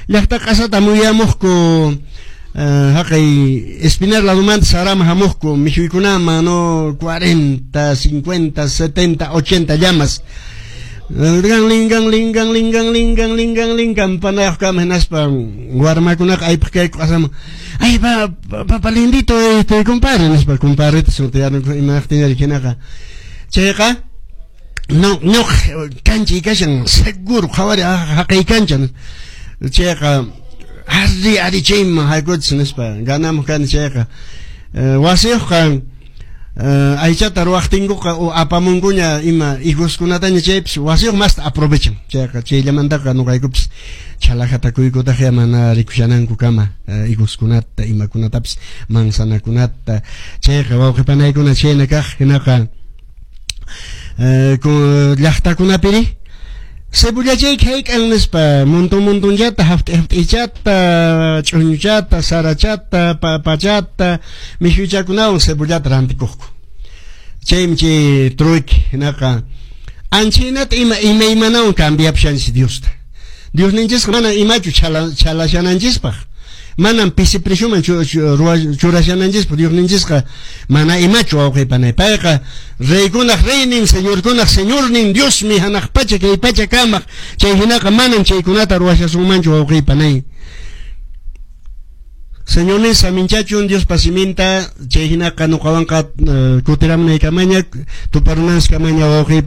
Llaqta q'asata muyamuqku haqay Espinar ladumanta Sarama hamuqku mikhuykunaman, no, 40, 50, 70, 80 llamas. Ganlin, ganlin, ganlin, ganlin, ganlin, ganlin, campanayuq kama hinaspa warmakunaqa aypaq kayku q'asaman. "Ay, papa lindito, compadre", nispa, compadreta sutiyarinku imaqtinari hinaqa. Chayqa no, ñuqa kanchay kashan, seguro qhawari haqay kancha. Chayqa ari ari chayman haykuchis nispa ganamuq kani chayqa. Wasiyuqqa aychata ruwaqtinkuqa o apamunkuña ima higoskunataña chaypis wasiyuq masta aprovechan. Chayqa chayllamantaqa ñuqaykupis chhalajatakuykutaj mana rikushanankukama higoskunata imakunatapis manzanakunata. Chayqa wawqi panaykuna chayna kaq hinaqa llaqtakunapiri cebollachayki hayk'an nispa montón montonchata haft'i haft'ichata ch'uñuchata sarachata papachata mikhuychakunawan cebollata rantikuqku. Chaymi chay trueque hinaqa anchaynata ima imaymanawan cambiapushanchis Diosta. Diosninchisqa mana imachu chhalashananchispaq, manam pisi presioman churashananchispaq. Diosninchisqa mana imachu, wawqi panay. Payqa reykunaq reynin, señorkunaq señornin Diosmi, hanaq pacha kay pacha kamaq. Chay hinaqa manan chaykunata ruwashasunmanchu, wawqi panay. Señornin saminchachun Diospa siminta. Chay hinaqa ñuqawanqa kutiramunaykamaña tuparunanskamaña, wawqi.